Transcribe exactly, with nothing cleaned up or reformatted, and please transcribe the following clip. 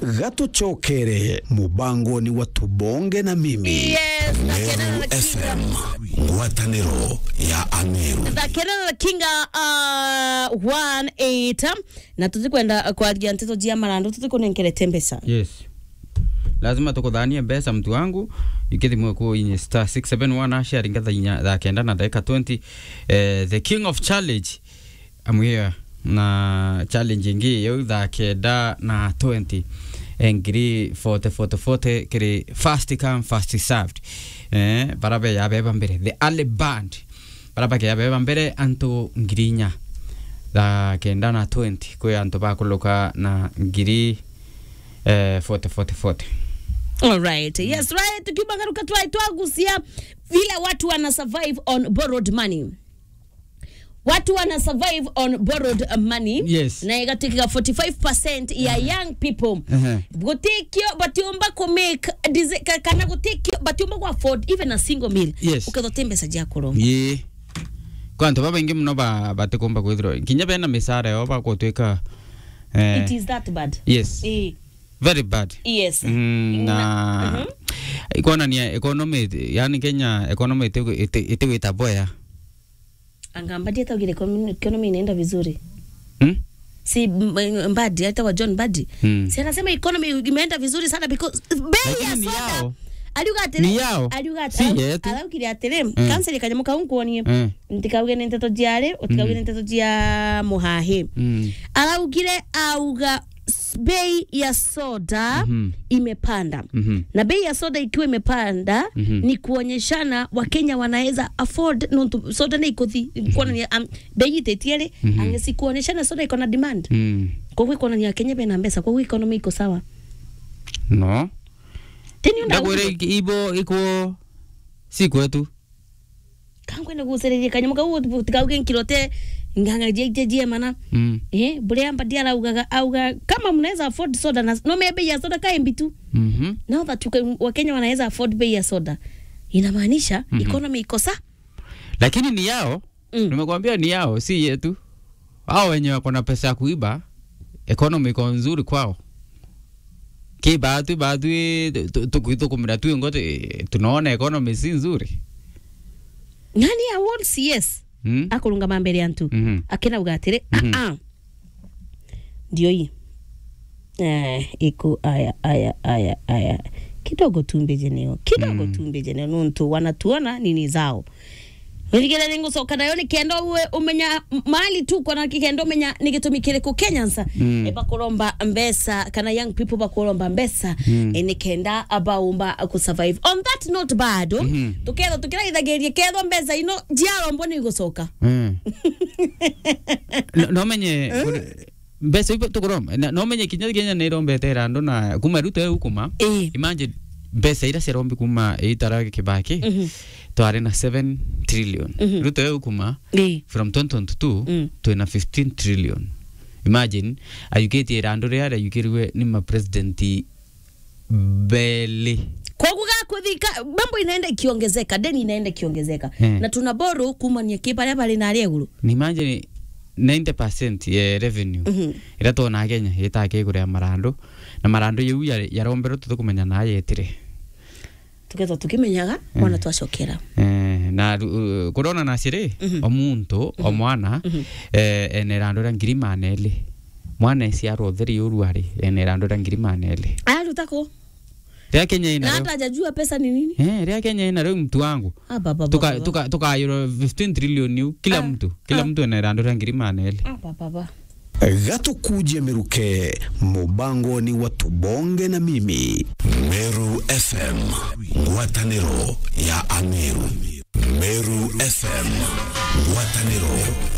Gatucokere mubangoni wa Tubonge na Mimi. Yes, Meru F M, ngwataniro ya Ameru. Thakerera Kinga, uh, one eight, na tutikwenda kwaria nteto cia marandu, tutikunenkerete mbeca. Yes. Lazima tukuthanie mbeca, mtu wangu. Ikithimwe ku inye star six seven one hash, aringa thaa inya, thaa kenda na ndagika twenty. Eh, the king of challenge. I'm here na challenge ingi yau thaa kenda na twenty. Eh, ngiri forty, forty, forty, kiri first come, first served. Eh, bara be ya beba mbere, the early bird. Bara bake ya beba mbere, antu ngiri inya. Thaa kenda na twenty, kwi antu bakuluka na ngiri, eh, forty, forty, forty. All right. Yes, right. Tukiuma garuka twai twagucia vile watu wana survive on borrowed money. Watu wana survive on borrowed money. Yes. Na igatuika forty-five percent ya young people. Ehe. Gutikio batiumba ku make desi-, ka-, kana gutikio batiumba ku afford even a single meal. Yes. Ukethwa ti mbeca cia kuromba. Ii. Kwa antu babaingi muno ba-, batikumba kwithirwa. Kinya bena misara yo bakutwika, eh, it is that bad. Yes. Ii. Very bad. Yes. Mm, na, na, mhm. Ikonania economy, yani Kenya economy iti-, iti-, itigwita boya. Anga Mbadi ataugire economy, economy inaenda vizuri. Hmm? Si M-, M-, Mbadi, atawa John Mbadi. Hmm. Si anasema economy imeenda vizuri sana because bei ya soda. Lakini ni yao. Aliuga atiri, ni yao. Aliuga atiri, si yetu. Araugire atiri, mm, cancel kanyamu kau nkuonie. Mm. Ntikauge ni nteto cia ri, utikauge ni nteto cia muhahi. Mm. Araugire, auga s-, bei ya soda, mhm, imepanda. Mhm. Na bei ya soda ikiwa imepanda, mhm, ni kuonyeshana Wakenya wanaweza afford, nontu soda ni ikuthi, kuonania, um, bei itetie ri, mhm, angesi kuonyeshana soda iko na demand. Mm. Kwa hivyo kuonania Kenya bena mbeca, kwa hivyo economy iko sawa. No. Teni unda ndakwire ibo iko si kwetu. Kangwenda guciriria kanyamu kau, utikauge nkirote ng'ang'a jia, jia, jia mana. Mm. Eh, buria Mbadi araugaga, auga, kama mnaweza afford soda na, no, maybe bei ya soda ka imbi tu. Mhm. Now that you can, Wakenya wanaweza afford bei ya soda, inamaanisha, mhm, economy iko sa-. Lakini ni yao, mm, nimekwambia ni yao, si yetu. Hao wenye wako na pesa ya kuiba, economy iko nzuri kwao. Ki baatwi, baatwi, tu-, tu-, tukwithukumira twi ngo, tu-, tunaona economy si nzuri. Nani awards, yes. Mm. Akurungama mbere ya antu. Mhm. Akinauga atiri, mhm, "Ah, ah. Ndio hii." Eh, iku, aya, aya, aya, aya. Kidogo tu mbeje neo. Kidogo, mm, tu mbeje neo. Nontu wanatuona nini zao. Nirigere ni ngucoka nayo nikenda uwe umenya m-, mali tu kwa na kikenda umenya ni gitumi kiriku Kenyans, mm, e, bakuromba mbeca, kana young people bakuromba mbeca, mm, e, nikenda abaumba ku survive. On that note bado, mhm, tuketho tukiraithagiria ketho mbeca ino jiarombwo ni gucoka. Mm. No, no menye, eh? Kuri-, mbeca ibo tukuromba. Na, no menye kinya Kenya ni irombete irandu na kuma Ruto eukuma. Eh. Imagine mbeca iria ciarombi kuma itara Kibaki. Mhm. Twari na seven trillion. Mhm. Ruto eukuma, eh, from twenty twenty-two, mm, twina fifteen trillion. Imagine, ayukitie irandu riria riayukirwe ni ma president beli. Koguo gakuthika, mambo inaenda ikiongezeka, deni inaenda ikiongezeka. Eh. Na tuna borrow kumania ki baria bari na aria iguru. Ni imagine ninety percent ya revenue, mhm, iria twona Kenya, itaa kigure ya marandu. Na marandu yau ya, yaromberwe tutikumenya na yetire. Tukethwa tukimenyaga, mm, mwana twacokera. Eh, na ru-, kurona na ciri, mhm, o muntu, o, mhm, mwana, mhm, eh, ena irandu ria ngiri maana eri. Mwana eciarwa utheri uru ari, ena irandu ria ngiri maana eri. Aruta ku? Ria Kenya ina na rio. Hata hajajua pesa ni nini? Eh, ria Kenya ina rio mtu wangu. Ah, baba, tuka-, baba, tuka-, tukayirwa fifteen trillion yu, kila, ah, mtu, kila, ah, mtu ena irandu ria ngiri maana eri. Ah, baba, baba. Gatukuje miruke, mubangoni wa Tubonge na Mimi. Meru F M, ngwataniro ya Ameru. Meru F M, ngwataniro